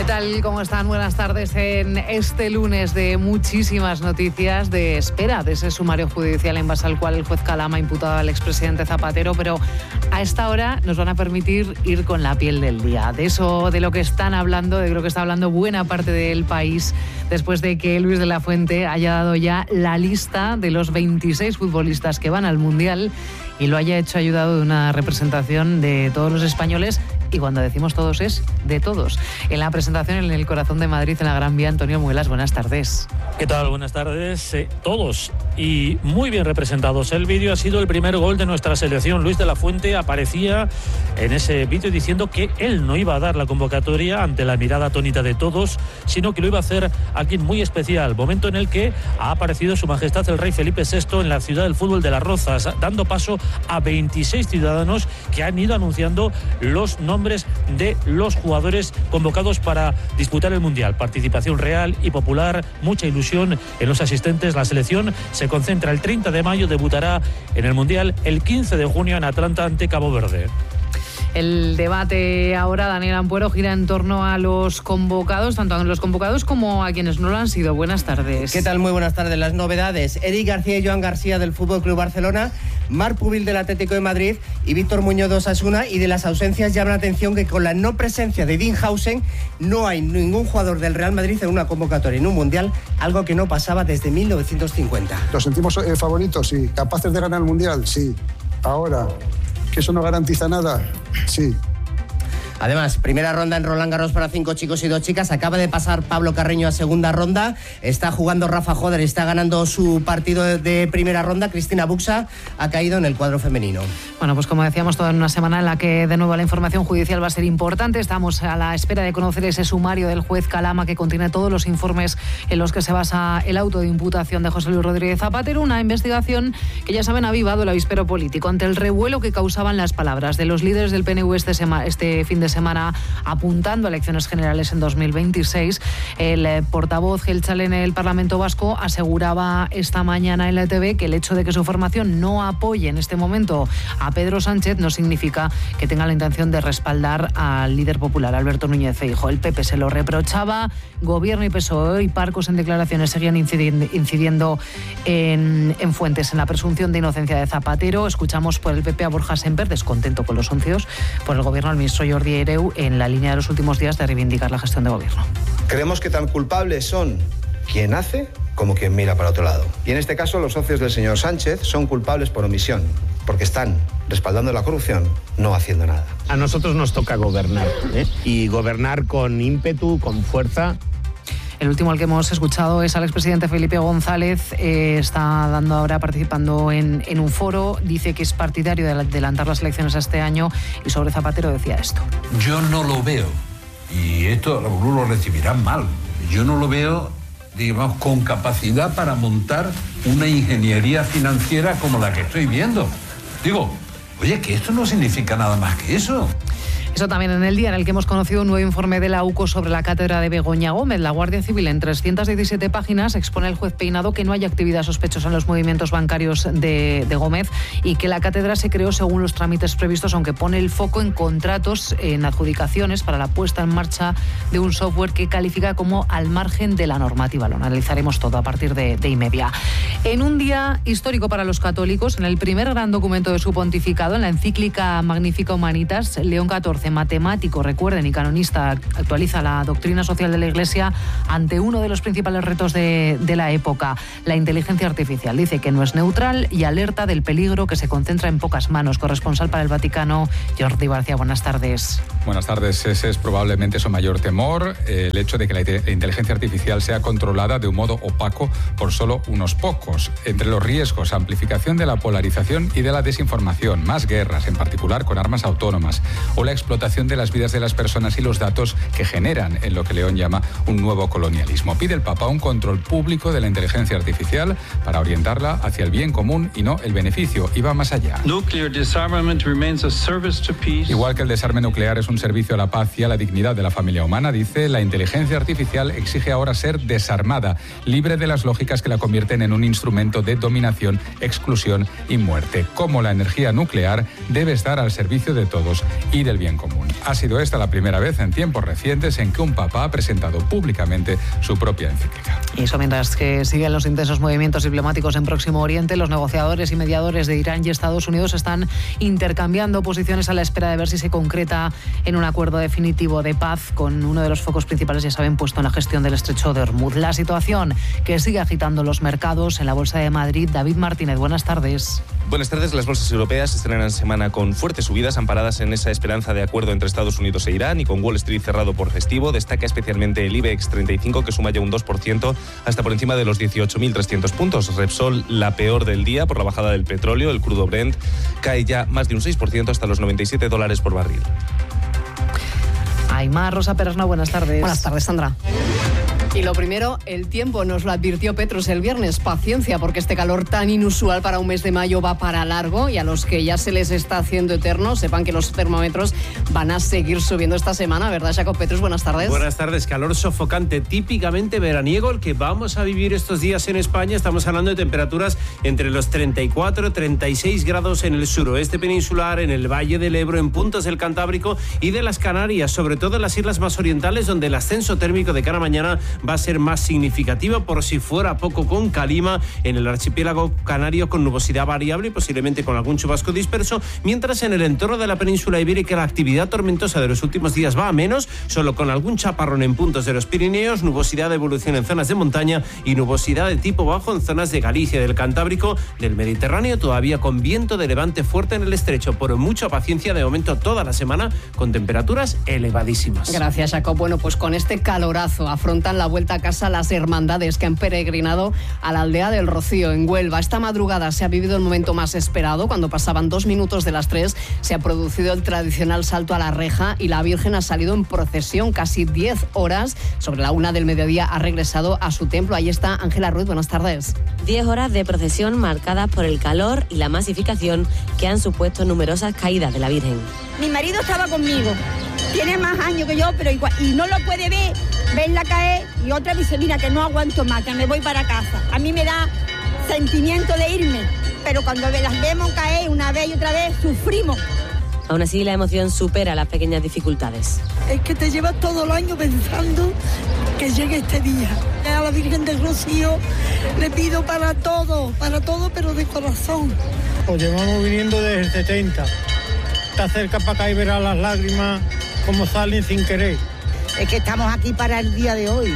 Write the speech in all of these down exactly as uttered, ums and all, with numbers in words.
¿Qué tal? ¿Cómo están? Buenas tardes en este lunes de muchísimas noticias, de espera de ese sumario judicial en base al cual el juez Calama ha imputado al expresidente Zapatero, pero a esta hora nos van a permitir ir con la piel del día. De eso, de lo que están hablando, de lo que está hablando buena parte del país, después de que Luis de la Fuente haya dado ya la lista de los veintiséis futbolistas que van al Mundial y lo haya hecho ayudado de una representación de todos los españoles. Y cuando decimos todos es de todos. En la presentación en el corazón de Madrid, en la Gran Vía, Antonio Muelas, buenas tardes. ¿Qué tal? Buenas tardes. Eh, todos y muy bien representados. El vídeo ha sido el primer gol de nuestra selección. Luis de la Fuente aparecía en ese vídeo diciendo que él no iba a dar la convocatoria ante la mirada atónita de todos, sino que lo iba a hacer alguien muy especial. Momento en el que ha aparecido Su Majestad el Rey Felipe sexto en la ciudad del fútbol de Las Rozas, dando paso a veintiséis ciudadanos que han ido anunciando los nombres de los jugadores convocados para disputar el Mundial. Participación real y popular, mucha ilusión en los asistentes. La selección se concentra el treinta de mayo, debutará en el Mundial el quince de junio en Atlanta ante Cabo Verde. El debate ahora, Daniel Ampuero, gira en torno a los convocados, tanto a los convocados como a quienes no lo han sido. Buenas tardes. ¿Qué tal? Muy buenas tardes. Las novedades: Eric García y Joan García del F C Barcelona, Marc Pubil del Atlético de Madrid y Víctor Muñoz de Osasuna. Y de las ausencias llama la atención que con la no presencia de Dinhausen no hay ningún jugador del Real Madrid en una convocatoria en un Mundial, algo que no pasaba desde mil novecientos cincuenta. ¿Los sentimos eh, favoritos? Sí. ¿Capaces de ganar el Mundial? Sí. Ahora, ¿que eso no garantiza nada? Sí. Además, primera ronda en Roland Garros para cinco chicos y dos chicas. Acaba de pasar Pablo Carreño a segunda ronda. Está jugando Rafa Joder, está ganando su partido de primera ronda. Cristina Buxa ha caído en el cuadro femenino. Bueno, pues como decíamos, toda en una semana en la que de nuevo la información judicial va a ser importante. Estamos a la espera de conocer ese sumario del juez Calama que contiene todos los informes en los que se basa el auto de imputación de José Luis Rodríguez Zapatero. Una investigación que, ya saben, ha avivado el avispero político ante el revuelo que causaban las palabras de los líderes del P N V este, sema, este fin de semana apuntando a elecciones generales en dos mil veintiséis. El eh, portavoz Gelchal en el Parlamento Vasco aseguraba esta mañana en la E T V que el hecho de que su formación no apoye en este momento a Pedro Sánchez no significa que tenga la intención de respaldar al líder popular, Alberto Núñez Feijóo. El P P se lo reprochaba, Gobierno y P S O E y Parcos en declaraciones seguían incidiendo, incidiendo en, en fuentes en la presunción de inocencia de Zapatero. Escuchamos por el P P a Borja Semper, descontento con los soncios, por el Gobierno al ministro Jordi Hereu, en la línea de los últimos días de reivindicar la gestión de gobierno. Creemos que tan culpables son quien hace como quien mira para otro lado. Y en este caso los socios del señor Sánchez son culpables por omisión, porque están respaldando la corrupción, no haciendo nada. A nosotros nos toca gobernar, ¿eh? Y gobernar con ímpetu, con fuerza. El último al que hemos escuchado es al expresidente Felipe González. Eh, está dando ahora participando en, en un foro. Dice que es partidario de adelantar las elecciones a este año y sobre Zapatero decía esto. Yo no lo veo, y esto algunos lo recibirán mal, yo no lo veo, digamos, con capacidad para montar una ingeniería financiera como la que estoy viendo. Digo, oye, que esto no significa nada más que eso. Eso también en el día en el que hemos conocido un nuevo informe de la U C O sobre la cátedra de Begoña Gómez. La Guardia Civil, en trescientas diecisiete páginas, expone al juez Peinado que no hay actividad sospechosa en los movimientos bancarios de, de Gómez y que la cátedra se creó según los trámites previstos, aunque pone el foco en contratos, en adjudicaciones para la puesta en marcha de un software que califica como al margen de la normativa. Lo analizaremos todo a partir de, de y media. En un día histórico para los católicos, en el primer gran documento de su pontificado, en la encíclica Magnifica Humanitas, León catorce, matemático, recuerden, y canonista, actualiza la doctrina social de la Iglesia ante uno de los principales retos de, de la época, la inteligencia artificial. Dice que no es neutral y alerta del peligro que se concentra en pocas manos. Corresponsal para el Vaticano, Jordi García, buenas tardes. Buenas tardes. Ese es probablemente su mayor temor, el hecho de que la inteligencia artificial sea controlada de un modo opaco por solo unos pocos. Entre los riesgos, amplificación de la polarización y de la desinformación, más guerras, en particular con armas autónomas, o la explotación de las vidas de las personas y los datos que generan en lo que León llama un nuevo colonialismo. Pide el Papa un control público de la inteligencia artificial para orientarla hacia el bien común y no el beneficio, y va más allá. Igual que el desarme nuclear es un servicio a la paz y a la dignidad de la familia humana, dice, la inteligencia artificial exige ahora ser desarmada, libre de las lógicas que la convierten en un instrumento de dominación, exclusión y muerte. Como la energía nuclear debe estar al servicio de todos y del bien común. común. Ha sido esta la primera vez en tiempos recientes en que un papa ha presentado públicamente su propia encíclica. Y eso mientras que siguen los intensos movimientos diplomáticos en Próximo Oriente, los negociadores y mediadores de Irán y Estados Unidos están intercambiando posiciones a la espera de ver si se concreta en un acuerdo definitivo de paz, con uno de los focos principales, ya saben, puesto en la gestión del estrecho de Hormuz. La situación que sigue agitando los mercados en la Bolsa de Madrid. David Martínez, buenas tardes. Buenas tardes. Las bolsas europeas estrenan semana con fuertes subidas amparadas en esa esperanza de acuerdo entre Estados Unidos e Irán, y con Wall Street cerrado por festivo. Destaca especialmente el IBEX treinta y cinco, que suma ya un dos por ciento hasta por encima de los dieciocho mil trescientos puntos. Repsol, la peor del día por la bajada del petróleo. El crudo Brent cae ya más de un seis por ciento hasta los noventa y siete dólares por barril. Aymar, Rosa Perasna, buenas tardes. Buenas tardes, Sandra. Y lo primero, el tiempo. Nos lo advirtió Petrus el viernes. Paciencia, porque este calor tan inusual para un mes de mayo va para largo, y a los que ya se les está haciendo eterno, sepan que los termómetros van a seguir subiendo esta semana, ¿verdad, Jacob Petrus? Buenas tardes. Buenas tardes. Calor sofocante, típicamente veraniego, el que vamos a vivir estos días en España. Estamos hablando de temperaturas entre los treinta y cuatro y treinta y seis grados en el suroeste peninsular, en el Valle del Ebro, en puntos del Cantábrico y de las Canarias, sobre todo en las islas más orientales, donde el ascenso térmico de cara a mañana va a ser más significativo, por si fuera poco, con calima en el archipiélago canario, con nubosidad variable y posiblemente con algún chubasco disperso, mientras en el entorno de la península ibérica la actividad tormentosa de los últimos días va a menos, solo con algún chaparrón en puntos de los Pirineos, nubosidad de evolución en zonas de montaña y nubosidad de tipo bajo en zonas de Galicia, del Cantábrico, del Mediterráneo, todavía con viento de levante fuerte en el estrecho. Por mucha paciencia, de momento toda la semana con temperaturas elevadísimas. Gracias, Jacob. Bueno, pues con este calorazo afrontan la vuelta a casa las hermandades que han peregrinado a la aldea del Rocío, en Huelva. Esta madrugada se ha vivido el momento más esperado. Cuando pasaban dos minutos de las tres, se ha producido el tradicional salto a la reja y la Virgen ha salido en procesión. Casi diez horas, sobre la una del mediodía, ha regresado a su templo. Ahí está Ángela Ruiz, buenas tardes. Diez horas de procesión marcadas por el calor y la masificación que han supuesto numerosas caídas de la Virgen. Mi marido estaba conmigo, tiene más años que yo, pero igual, y no lo puede ver, verla caer, y otra dice, mira, que no aguanto más, que me voy para casa. A mí me da sentimiento de irme, pero cuando las vemos caer una vez y otra vez, sufrimos. Aún así, la emoción supera las pequeñas dificultades. Es que te llevas todo el año pensando que llegue este día. A la Virgen del Rocío le pido para todo, para todo, pero de corazón. Pues llevamos viniendo desde el setenta. Está cerca para acá y verás las lágrimas como salen sin querer. Es que estamos aquí para el día de hoy.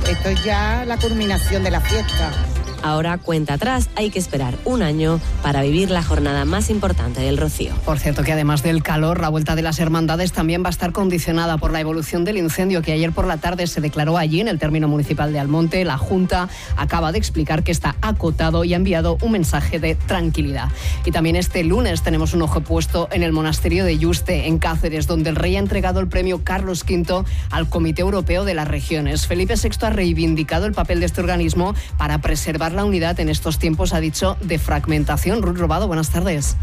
Esto es ya la culminación de la fiesta. Ahora cuenta atrás, hay que esperar un año para vivir la jornada más importante del Rocío. Por cierto, que además del calor, la vuelta de las hermandades también va a estar condicionada por la evolución del incendio que ayer por la tarde se declaró allí en el término municipal de Almonte. La Junta acaba de explicar que está acotado y ha enviado un mensaje de tranquilidad. Y también este lunes tenemos un ojo puesto en el monasterio de Yuste, en Cáceres, donde el rey ha entregado el premio Carlos quinto al Comité Europeo de las Regiones. Felipe sexto ha reivindicado el papel de este organismo para preservar la unidad en estos tiempos, ha dicho, de fragmentación. Ruth Robado, buenas tardes.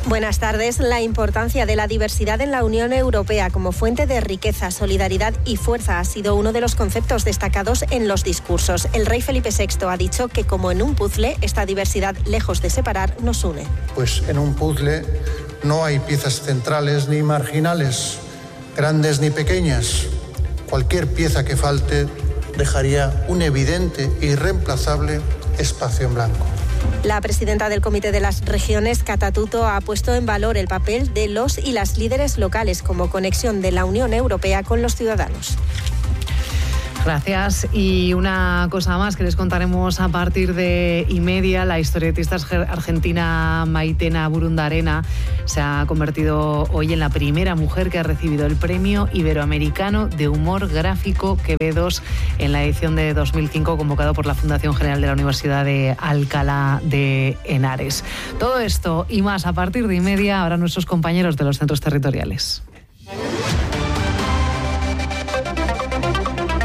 Buenas tardes. La importancia de la diversidad en la Unión Europea como fuente de riqueza, solidaridad y fuerza ha sido uno de los conceptos destacados en los discursos. El rey Felipe sexto ha dicho que, como en un puzzle, esta diversidad, lejos de separar, nos une. Pues en un puzzle no hay piezas centrales ni marginales, grandes ni pequeñas. Cualquier pieza que falte dejaría un evidente e irreemplazable espacio en blanco. La presidenta del Comité de las Regiones, Cata Tuto, ha puesto en valor el papel de los y las líderes locales como conexión de la Unión Europea con los ciudadanos. Gracias. Y una cosa más que les contaremos a partir de y media. La historietista argentina Maitena Burundarena se ha convertido hoy en la primera mujer que ha recibido el Premio Iberoamericano de Humor Gráfico Quevedos en la edición de dos mil cinco, convocado por la Fundación General de la Universidad de Alcalá de Henares. Todo esto y más a partir de y media, ahora nuestros compañeros de los centros territoriales.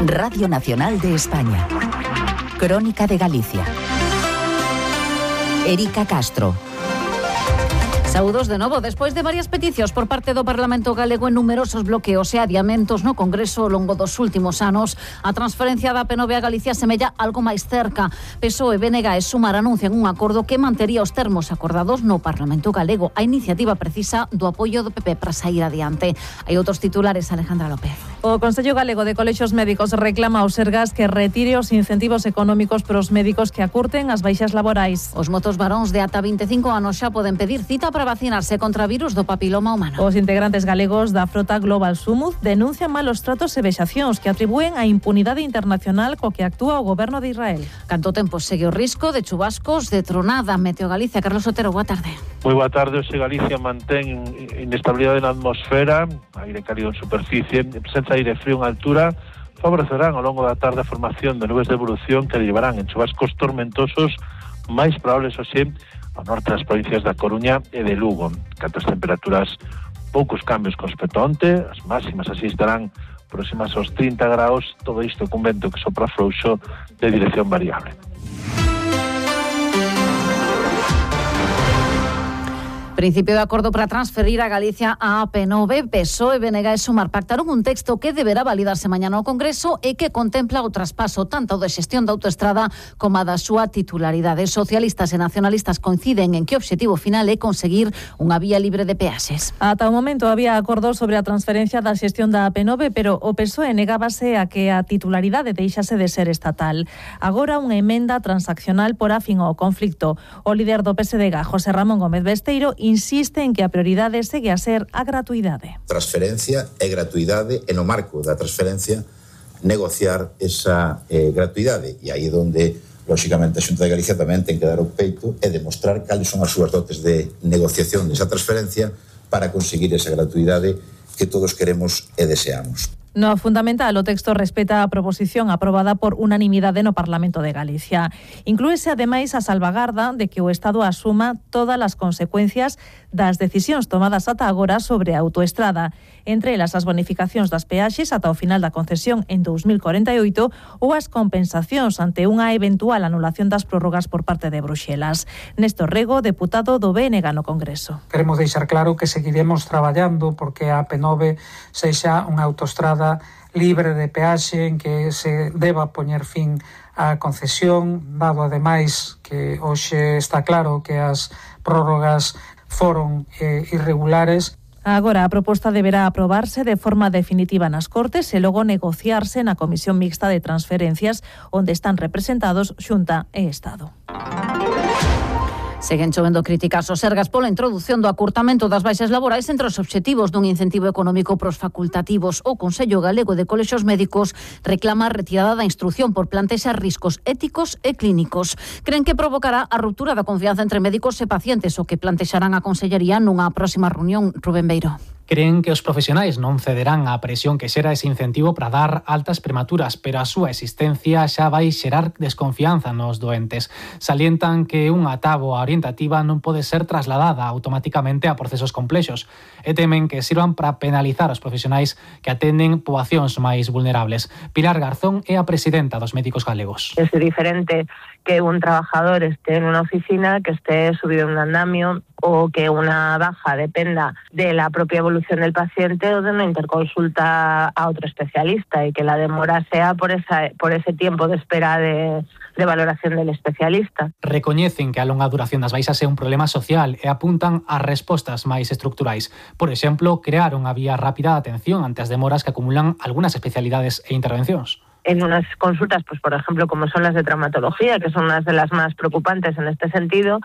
Radio Nacional de España. Crónica de Galicia. Erika Castro. Saúdos de novo, despois de varias peticións por parte do Parlamento galego en numerosos bloqueos e adiamentos no Congreso ao longo dos últimos anos, a transferencia da P nove a Galicia semella algo máis cerca. P S O E, B N G e Sumar anuncian un acordo que mantería os termos acordados no Parlamento galego. A iniciativa precisa do apoio do P P para sair adiante. Hai outros titulares, Alejandra López. O Consello Galego de Colexios Médicos reclama aos Sergas que retire os incentivos económicos para os médicos que acurten as baixas laborais. Os motos varóns de ata vinte e cinco anos xa poden pedir cita para vacinarse contra o virus do papiloma humano. Os integrantes galegos da frota Global Sumuz denuncian malos tratos e vexacións que atribúen a impunidade internacional co que actúa o goberno de Israel. Canto tempo segue o risco de chubascos, de tronada. Meteo Galicia, Carlos Otero, boa tarde. Moi boa tarde. Hoxe Galicia mantén inestabilidade na atmosfera, aire cálido en superficie, presenza de aire frío en altura, favorecerán ao longo da tarde a formación de nubes de evolución que derivarán en chubascos tormentosos máis probables hoxe ao norte das provincias da Coruña e de Lugo. Canto as temperaturas, poucos cambios con respecto a onte, as máximas así estarán próximas aos trinta graus, todo isto cun vento que sopra frouxo de dirección variable. Principio de acordo para transferir a Galicia a P nove, P S O E, B N G e Sumar pactaron un texto que deberá validarse mañá no Congreso e que contempla o traspaso tanto de xestión da autoestrada como a da súa titularidade. Socialistas e nacionalistas coinciden en que o obxectivo final é conseguir unha vía libre de peaxes. Ata o momento había acordos sobre a transferencia da xestión da P nove, pero o P S O E negábase a que a titularidade deixase de ser estatal. Agora unha emenda transaccional por afín ao conflicto. O líder do P S D G, José Ramón Gómez Besteiro, insiste en que a prioridade segue a ser a gratuidade. Transferencia e gratuidade, e no marco da transferencia negociar esa eh, gratuidade. E aí é onde, lóxicamente, a Xunta de Galicia tamén ten que dar o peito e demostrar cales son as súas dotes de negociación desa transferencia para conseguir esa gratuidade que todos queremos e deseamos. No fundamental, o texto respeta a proposición aprobada por unanimidade no Parlamento de Galicia. Inclúese, ademais, a salvagarda de que o Estado asuma todas as consecuencias das decisións tomadas ata agora sobre a autoestrada, entre elas as bonificacións das peaxes ata o final da concesión en dous mil corenta e oito ou as compensacións ante unha eventual anulación das prórrogas por parte de Bruxelas. Néstor Rego, deputado do B N G no Congreso. Queremos deixar claro que seguiremos traballando porque a P nove sexa unha autoestrada libre de peaxe en que se deba poñer fin á concesión, dado ademais que hoxe está claro que as prórrogas foron eh, irregulares. Agora a proposta deberá aprobarse de forma definitiva nas Cortes e logo negociarse na Comisión Mixta de Transferencias, onde están representados Xunta e Estado. Seguen chovendo críticas aos Sergas pola introdución do acurtamento das baixas laborais entre os obxectivos dun incentivo económico pros facultativos. O Consello Galego de Colexios Médicos reclama a retirada da instrucción por plantexar riscos éticos e clínicos. Creen que provocará a ruptura da confianza entre médicos e pacientes, o que plantexarán a Consellería nunha próxima reunión. Rubén Beiro. Creen que os profesionais non cederán á presión que xera ese incentivo para dar altas prematuras, pero a súa existencia xa vai xerar desconfianza nos doentes. Salientan que unha táboa orientativa non pode ser trasladada automáticamente a procesos complexos e temen que sirvan para penalizar os profesionais que atenden poboacións máis vulnerables. Pilar Garzón é a presidenta dos Médicos Galegos. Es diferente que un trabajador esté en una oficina, que esté subido en un andamio o que una baja dependa de la propia evolución del paciente o de una interconsulta a otro especialista y que la demora sea por esa por ese tiempo de espera de, de valoración del especialista. Recoñecen que a longa duración das baixas é un problema social e apuntan a respostas máis estructurais. Por exemplo, crear unha vía rápida de atención ante as demoras que acumulan algunhas especialidades e intervencións. En unas consultas, pues por ejemplo, como son las de traumatología, que son unas de las más preocupantes en este sentido,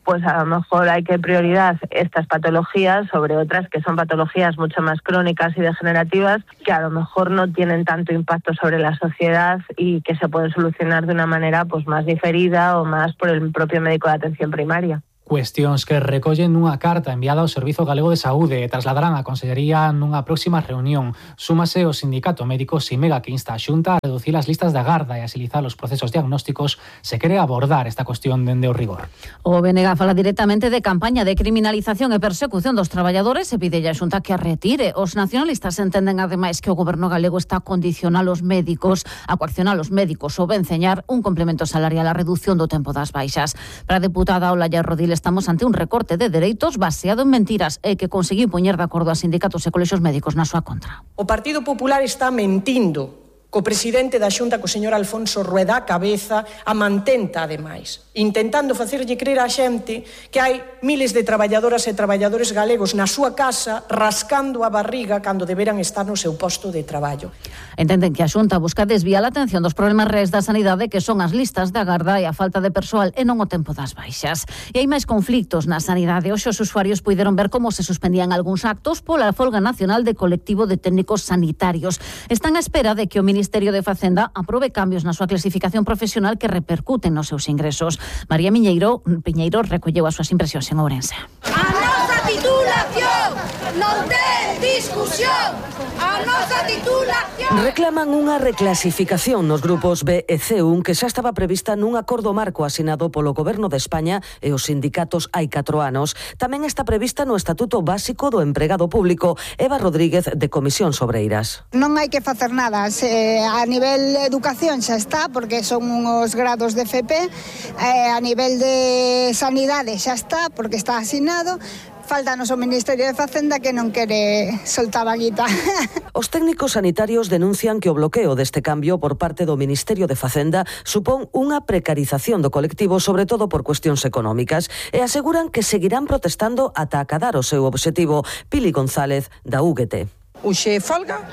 pues a lo mejor hay que prioridad estas patologías sobre otras que son patologías mucho más crónicas y degenerativas, que a lo mejor no tienen tanto impacto sobre la sociedad y que se pueden solucionar de una manera pues más diferida o más por el propio médico de atención primaria. Cuestións que recollen nunha carta enviada ao Servizo Galego de Saúde e trasladarán á Consellería nunha próxima reunión. Súmase o Sindicato Médico Simega, que insta a Xunta a reducir as listas de agarda e agilizar os procesos diagnósticos se quere abordar esta cuestión dende o rigor. O B N G fala directamente de campaña de criminalización e persecución dos traballadores e pide a Xunta que a retire. Os nacionalistas entenden ademais que o goberno galego está a condicionar os médicos, a coaccionar os médicos ou venceñar un complemento salarial á reducción do tempo das baixas. Para a deputada Olaya Rodiles estamos ante un recorte de dereitos baseado en mentiras e que conseguiu poñer de acordo a sindicatos e colexios médicos na súa contra. O Partido Popular está mentindo co presidente da Xunta, co señor Alfonso Rueda, a cabeza, a mantenta, ademais, intentando facerlle crer á xente que hai miles de traballadoras e traballadores galegos na súa casa rascando a barriga cando deberan estar no seu posto de traballo. Entenden que a Xunta busca desviar a atención dos problemas reais da sanidade, que son as listas de agarda e a falta de persoal e non o tempo das baixas. E hai máis conflictos na sanidade. Hoxe os usuarios puideron ver como se suspendían algúns actos pola folga nacional de colectivo de técnicos sanitarios. Están á espera de que o Ministerio O Ministerio de Facenda aprobe cambios na súa clasificación profesional que repercuten nos seus ingresos. María Miñeiro, Piñeiro recolleu as súas impresións en Ourense. A nosa titulación non ten discusión. A nosa titulación. Reclaman unha reclasificación nos grupos B e C un que xa estaba prevista nun acordo marco asinado polo Goberno de España e os sindicatos hai catro anos. Tamén está prevista no Estatuto Básico do Empregado Público. Eva Rodríguez, de Comisión Sobreiras. Non hai que facer nada. Se a nivel de educación xa está, porque son uns grados de F P, eh, a nivel de sanidade xa está, porque está asignado. Faltanos o Ministerio de Facenda que non quere soltar a guita. Os técnicos sanitarios denuncian que o bloqueo deste cambio por parte do Ministerio de Facenda supón unha precarización do colectivo, sobre todo por cuestións económicas, e aseguran que seguirán protestando ata acadar o seu obxectivo. Pili González, da U G T. Uxe folga,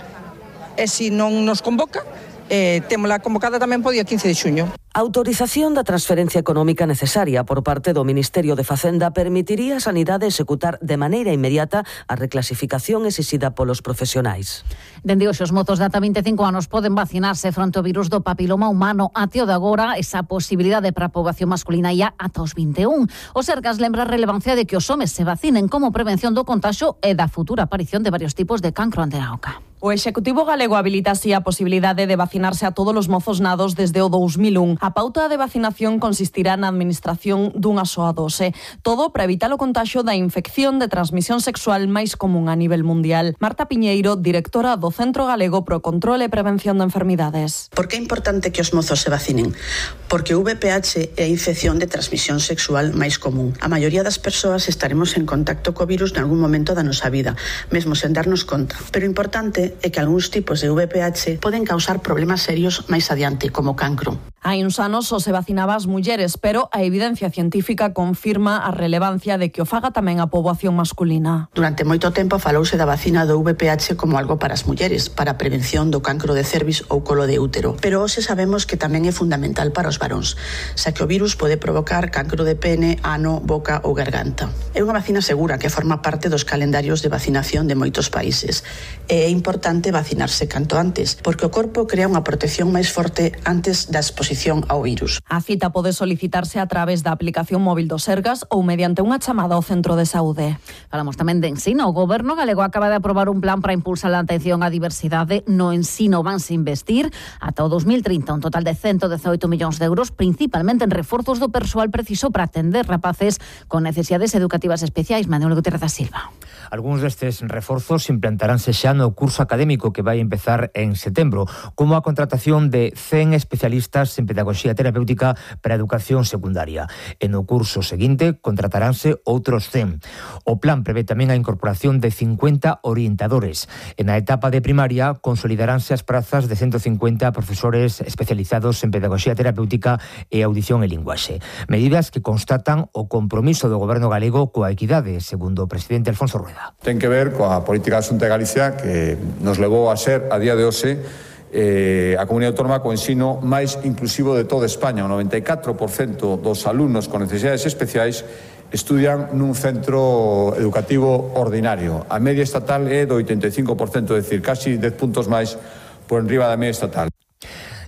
e se non nos convoca, eh, témola convocada tamén po día quince de xuño. A autorización da transferencia económica necesaria por parte do Ministerio de Facenda permitiría a Sanidade executar de maneira inmediata a reclasificación exixida polos profesionais. Dende hoxe os mozos de ata vinte e cinco anos poden vacinarse fronte ao virus do papiloma humano. Até o de agora, esa posibilidade para a poboación masculina ia ata os vinte e un. O Sergas lembra a relevancia de que os homes se vacinen como prevención do contagio e da futura aparición de varios tipos de cancro ante a oca. O Executivo galego habilita así a posibilidade de vacinarse a todos os mozos nados desde o dous mil un. A pauta de vacinación consistirá na administración dunha soa dose. Todo para evitar o contagio da infección de transmisión sexual máis común a nivel mundial. Marta Piñeiro, directora do Centro Galego pro Control e Prevención de Enfermidades. Por que é importante que os mozos se vacinen? Porque o V I H é a infección de transmisión sexual máis común. A maioría das persoas estaremos en contacto co virus en algún momento da nosa vida, mesmo sen darnos conta. Pero o importante é que algúns tipos de V I H poden causar problemas serios máis adiante, como cancro. Hai uns anos só se vacinaba as mulleres, pero a evidencia científica confirma a relevancia de que o faga tamén a poboación masculina. Durante moito tempo falouse da vacina do V I H como algo para as mulleres, para a prevención do cancro de cervix ou colo de útero. Pero hoxe sabemos que tamén é fundamental para os varóns, xa que o virus pode provocar cancro de pene, ano, boca ou garganta. É unha vacina segura que forma parte dos calendarios de vacinación de moitos países. E é importante vacinarse canto antes, porque o corpo crea unha protección máis forte antes da exposición ao virus. A cita pode solicitarse a través da aplicación móvil do Sergas ou mediante unha chamada ao centro de saúde. Falamos tamén de ensino. O Goberno galego acaba de aprobar un plan para impulsar a atención á diversidade. No ensino vanse investir ata o dos mil trinta un total de ciento dezaoito millóns de euros, principalmente en reforzos do persoal preciso para atender rapaces con necesidades educativas especiais. Manuel Gutiérrez da Silva. Algúns destes reforzos implantaránse xa no curso académico que vai empezar en setembro, como a contratación de cen especialistas en pedagogía terapéutica para a educación secundaria. E no curso seguinte contrataránse outros cen. O plan prevé tamén a incorporación de cincuenta orientadores. En a etapa de primaria consolidaránse as prazas de ciento cincuenta profesores especializados en pedagogía terapéutica e audición e linguaxe. Medidas que constatan o compromiso do Goberno galego coa equidade, segundo o presidente Alfonso Rueda. Ten que ver coa política da Xunta de Galicia que nos levou a ser, a día de hoxe, eh, a comunidade autónoma co ensino máis inclusivo de toda España. O noventa e catro por cento dos alumnos con necesidades especiais estudian nun centro educativo ordinario. A media estatal é do oitenta e cinco por cento, é dicir, casi dez puntos máis por enriba da media estatal.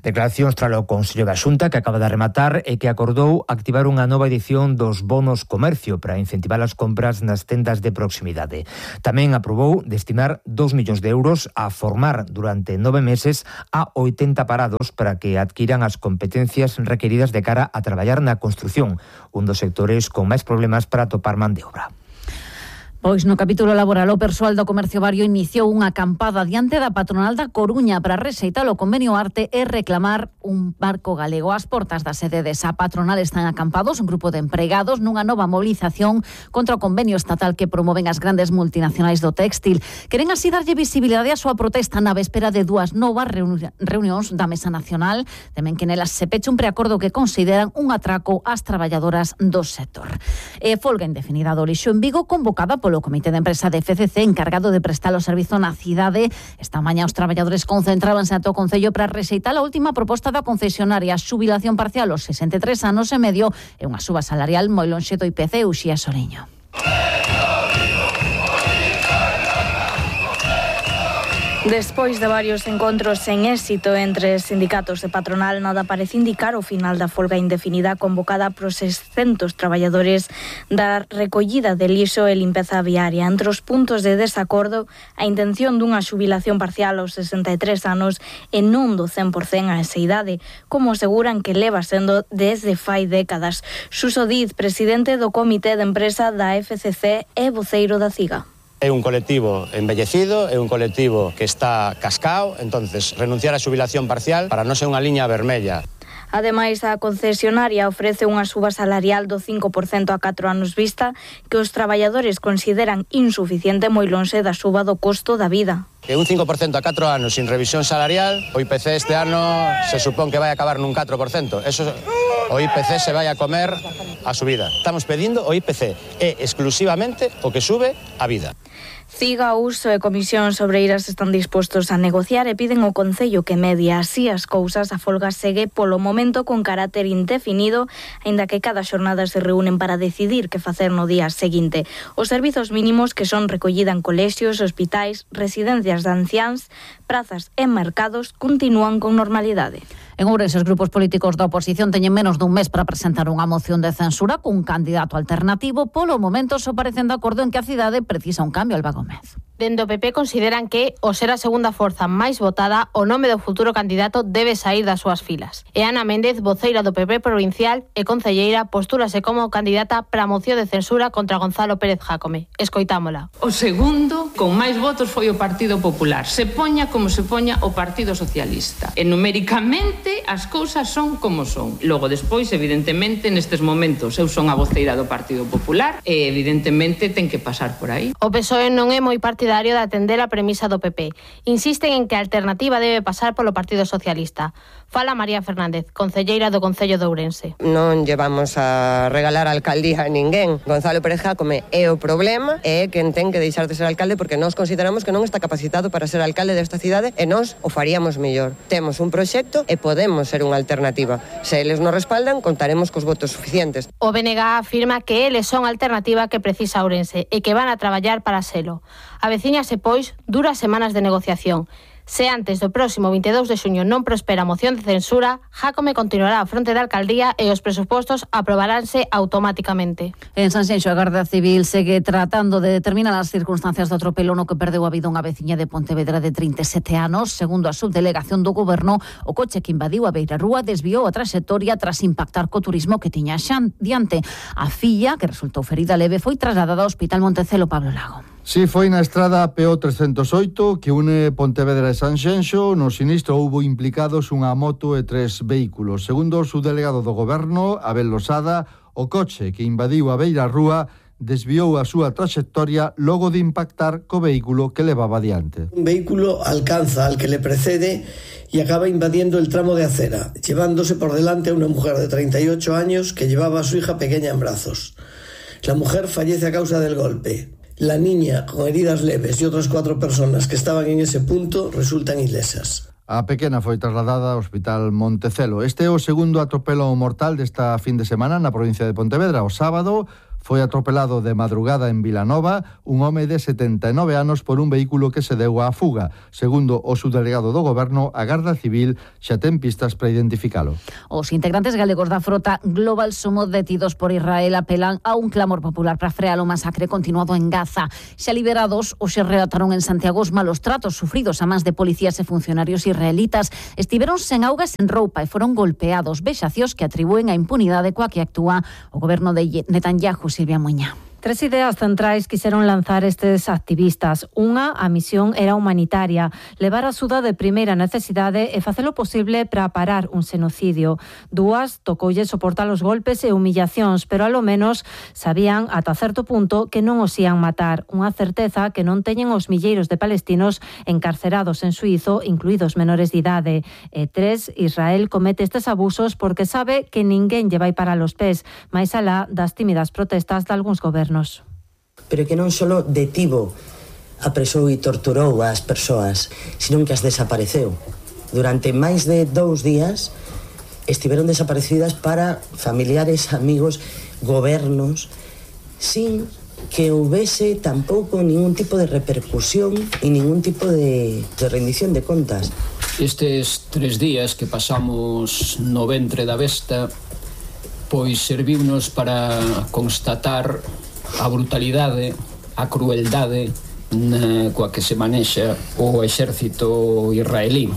Declaracións tralo Consello da Xunta, que acaba de rematar e que acordou activar unha nova edición dos bonos comercio para incentivar as compras nas tendas de proximidade. Tamén aprobou destinar dos millóns de euros a formar durante nove meses a oitenta parados para que adquiran as competencias requeridas de cara a traballar na construción, un dos sectores con máis problemas para atopar man de obra. Pois no capítulo laboral, o persoal do comercio vario iniciou unha acampada diante da patronal da Coruña para rexeitar o convenio Arte e reclamar un barco galego. Ás portas da sede desa patronal están acampados un grupo de empregados nunha nova movilización contra o convenio estatal que promoven as grandes multinacionais do téxtil. Queren así darlle visibilidade á súa protesta na véspera de dúas novas reuni- reunións da Mesa Nacional. Temen que nelas se peche un preacordo que consideran un atraco ás traballadoras do sector. E folga indefinida do lixo en Vigo convocada polo O Comité de Empresa de F C C encargado de prestar o servizo na cidade. Esta mañá os traballadores concentrábanse ante o Concello para rexeitar a última proposta da concesionaria, xubilación parcial aos sesenta e tres anos e medio e unha suba salarial moi lonxe do I P C. Uxía Soriño. Despois de varios encontros sen éxito entre sindicatos e patronal, nada parece indicar o final da folga indefinida convocada por seiscentos traballadores da recollida de lixo e limpeza viaria. Entre os puntos de desacordo, a intención dunha xubilación parcial aos sesenta e tres anos e non do cen por cento a esa idade, como aseguran que leva sendo desde fai décadas. Suso Diz, presidente do Comité de Empresa da F C C e voceiro da CIGA. É un colectivo embellecido, é un colectivo que está cascao, entonces renunciar á xubilación parcial para non ser unha liña vermella. Ademais, a concesionaria ofrece unha suba salarial do cinco por cento a catro anos vista que os traballadores consideran insuficiente moi lonxe da suba do costo da vida. Que un cinco por cento a catro anos sin revisión salarial, o I P C este ano se supón que vai acabar nun catro por cento. Eso, o I P C se vai a comer a subida. Estamos pedindo o I P C, é exclusivamente o que sube a vida. CIGA, Uso e Comisións Obreiras están dispostos a negociar e piden ao Concello que medie así as cousas. A folga segue polo momento con carácter indefinido, aínda que cada xornada se reúnen para decidir que facer no día seguinte. Os servizos mínimos, que son recollida en colexios, hospitais, residencias de anciáns, prazas e mercados, continúan con normalidade. En Ourense, os grupos políticos da oposición teñen menos dun mes para presentar unha moción de censura cun candidato alternativo. Polo momento, só parecen de acordo en que a cidade precisa un cambio. Alba Gómez. Dende o P P consideran que, ao ser a segunda forza máis votada, o nome do futuro candidato debe saír das súas filas. E Ana Méndez, voceira do P P provincial e concelleira, postúrase como candidata para a moción de censura contra Gonzalo Pérez Jácome. Escoitámola. O segundo, con máis votos, foi o Partido Popular. Se poña como se poña o Partido Socialista. E numéricamente as cousas son como son. Logo, despois, evidentemente, nestes momentos, eu son a voceira do Partido Popular e, evidentemente, ten que pasar por aí. O P S O E non é moi partidario de atender a premisa do P P. Insisten en que a alternativa debe pasar polo Partido Socialista. Fala María Fernández, concelleira do Concello de Ourense. Non llevamos a regalar a alcaldía a ninguén. Gonzalo Pérez Jácome é o problema, é quen ten que deixar de ser alcalde porque nós consideramos que non está capacitado para ser alcalde desta cidade e nós o faríamos mellor. Temos un proxecto e podemos ser unha alternativa. Se eles nos respaldan, contaremos cos votos suficientes. O B N G afirma que eles son a alternativa que precisa Ourense e que van a traballar para selo. Avecíñase, pois, duras semanas de negociación. Se antes do próximo vinte e dous de xuño non prospera a moción de censura, Jácome continuará á fronte da alcaldía e os presupostos aprobaránse automáticamente. En Sanxenxo, a Garda Civil segue tratando de determinar as circunstancias do atropelo no que perdeu a vida unha veciña de Pontevedra de trinta e sete anos. Segundo a subdelegación do Goberno, o coche que invadiu a beirarrúa desviou a traxectoria tras impactar co turismo que tiña xa diante. A filla, que resultou ferida leve, foi trasladada ao Hospital Montecelo. Pablo Lago. Si, foi na estrada P O trescentos oito que une Pontevedra e Sanxenxo. No sinistro houbo implicados unha moto e tres vehículos. Segundo o subdelegado do Goberno, Abel Losada, o coche que invadiu a beirarrúa desviou a súa traxectoria logo de impactar co vehículo que levaba adiante. Un vehículo alcanza al que le precede y acaba invadiendo el tramo de acera, llevándose por delante a una mujer de treinta y ocho años que llevaba a su hija pequeña en brazos. La mujer fallece a causa del golpe. La niña, con heridas leves, y otras cuatro personas que estaban en ese punto resultan ilesas. A pequena foi trasladada ao Hospital Montecelo. Este é o segundo atropelo mortal desta fin de semana na provincia de Pontevedra. O sábado foi atropelado de madrugada en Vilanova un home de setenta e nove anos por un vehículo que se deu á fuga. Segundo o subdelegado do Goberno, a Garda Civil xa ten pistas para identificalo. Os integrantes galegos da frota Global Sumo detidos por Israel apelan a un clamor popular para frear o masacre continuado en Gaza. Xa liberados, hoxe relataron en Santiago os malos tratos sufridos a mans de policías e funcionarios israelitas. Estiveron sen auga e sen roupa e foron golpeados, vexacións que atribúen a impunidade coa que actúa o goberno de Netanyahu. Silvia Muña. Tres ideas centrais quixeron lanzar estes activistas. Unha, a misión era humanitaria, levar axuda de primeira necesidade e facelo posible para parar un xenocidio. Dúas, tocoulle soportar os golpes e humillacións, pero alo menos sabían ata certo punto que non os ían matar. Unha certeza que non teñen os milleiros de palestinos encarcerados en Suízo, incluídos menores de idade. E tres, Israel comete estes abusos porque sabe que ninguén lle vai para los pés, máis alá das tímidas protestas de algúns gobernos. Pero que non só detivo, apresou e torturou as persoas, senón que as desapareceu. Durante máis de dous días estiveron desaparecidas para familiares, amigos, gobernos, sin que houvese tampouco ningún tipo de repercusión e ningún tipo de, de rendición de contas. Estes tres días que pasamos no ventre da besta, pois serviunos para constatar a brutalidade, a crueldade na coa que se manexa o exército israelí.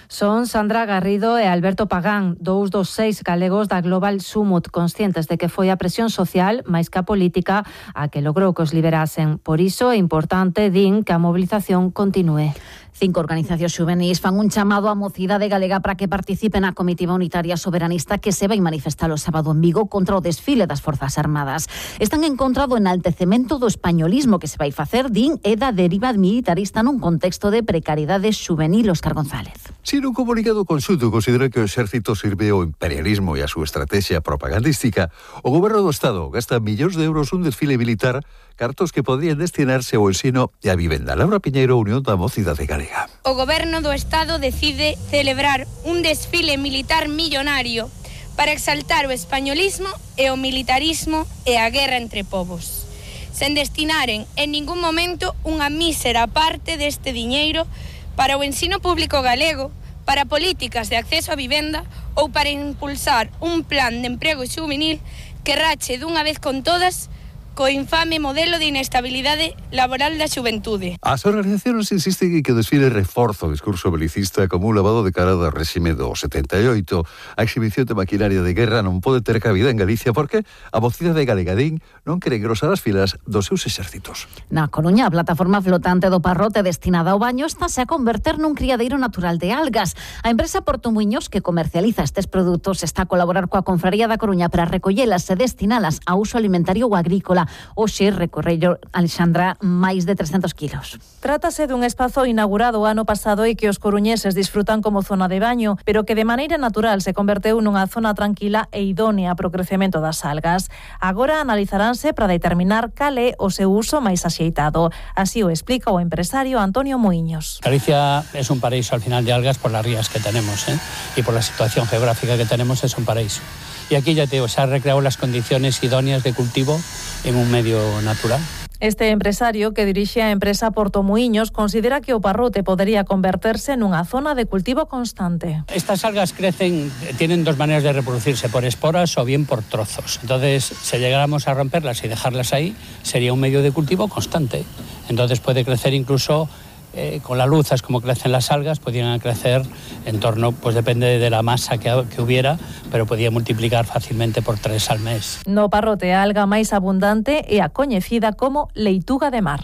Son Sandra Garrido e Alberto Pagán, dous dos seis galegos da Global Summit, conscientes de que foi a presión social, máis que a política, a que logrou que os liberasen. Por iso é importante, din, que a mobilización continúe. Cinco organizacións xuvenís fan un chamado á mocidade galega para que participe na comitiva unitaria soberanista que se vai manifestar o sábado en Vigo contra o desfile das Forzas Armadas. Están en contra do enaltecemento do españolismo que se vai facer, din, e da deriva militarista nun contexto de precariedade xuvenil. Óscar González. Si nun comunicado conxunto considera que o exército sirve ao imperialismo e a súa estrategia propagandística, o goberno do Estado gasta millóns de euros un desfile militar, cartos que podrían destinarse ao ensino e a vivenda. Laura Piñeiro, Unión da Mocidade Galega. O goberno do Estado decide celebrar un desfile militar millonario para exaltar o españolismo e o militarismo e a guerra entre povos, sen destinaren en ningún momento unha mísera parte deste diñeiro para o ensino público galego, para políticas de acceso a vivenda ou para impulsar un plan de emprego xuvenil que rache dunha vez con todas co infame modelo de inestabilidade laboral da xuventude. As organizacións insisten en que o desfile reforza o discurso belicista como un lavado de cara do réxime do setenta e oito. A exhibición de maquinaria de guerra non pode ter cabida en Galicia porque a mocidade galega, din, non quere engrosar as filas dos seus exércitos. Na Coruña, a plataforma flotante do Parrote destinada ao baño estase a converter nun criadeiro natural de algas. A empresa Porto Muiños, que comercializa estes produtos, está a colaborar coa Confraría da Coruña para recollelas e destinalas a uso alimentario ou agrícola. Hoxe recorrello, Alexandra, máis de trescentos kilos. Trátase dun espazo inaugurado o ano pasado e que os coruñeses disfrutan como zona de baño, pero que de maneira natural se converteu nunha zona tranquila e idónea para o crecemento das algas. Agora analizaránse para determinar cal é o seu uso máis axeitado. Así o explica o empresario Antonio Muiños. Galicia es un paraíso al final de algas por las rías que tenemos, ¿eh? Y por la situación geográfica que tenemos es un paraíso. Y aquí ya te digo, se han recreado las condiciones idóneas de cultivo en un medio natural. Este empresario, que dirixe a empresa Porto Muiños, considera que o Parrote podería converterse nunha zona de cultivo constante. Estas algas crecen, tienen dos maneras de reproducirse, por esporas o bien por trozos. Entonces, si llegáramos a romperlas y dejarlas ahí, sería un medio de cultivo constante. Entonces puede crecer incluso Eh, con la luz, es como crecen las algas, podrían crecer en torno, pues depende de la masa que, que hubiera, pero podía multiplicar fácilmente por tres al mes. No Parrote, a alga máis abundante é a coñecida como leituga de mar.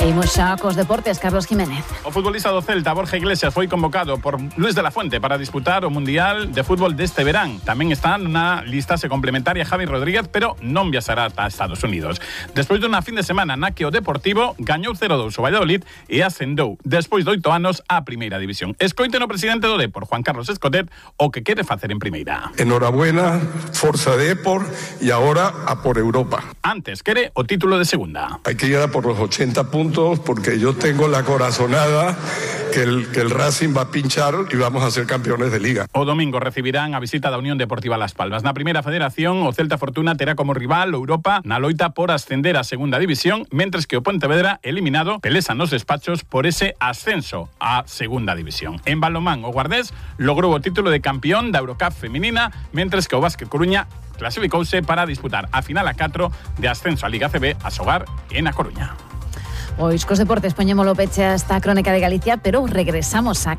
Imos xa cos deportes, Carlos Jiménez. O futbolista do Celta, Borja Iglesias, foi convocado por Luis de la Fuente para disputar o Mundial de Fútbol deste verán. Tamén está na lista se complementaria Javi Rodríguez, pero non viaxará ata Estados Unidos. Despois dunha fin de semana na que o Deportivo gañou cero dous o Valladolid e ascendou despois de oito anos á Primeira División. Escoiten o presidente do Depor, Juan Carlos Escotet, o que quere facer en Primeira. Enhorabuena, forza Depor, e agora a por Europa. Antes quere o título de segunda. Hai que ir a por los ochenta puntos porque yo tengo la corazonada que el, que el Racing va a pinchar y vamos a ser campeones de Liga. O domingo recibirán a visita da Unión Deportiva Las Palmas. Na Primeira Federación, o Celta Fortuna terá como rival o Europa na loita por ascender a Segunda División, mentres que o Pontevedra, eliminado, pelesa nos despachos por ese ascenso a Segunda División. En balonmán, o Guardés logrou o título de campeón da Eurocup feminina, mentres que o Básquet Coruña clasificouse para disputar a final a catro de ascenso a Liga C B a xogar en A Coruña. Pois cos deportes poñémolo peche a esta crónica de Galicia, pero regresamos a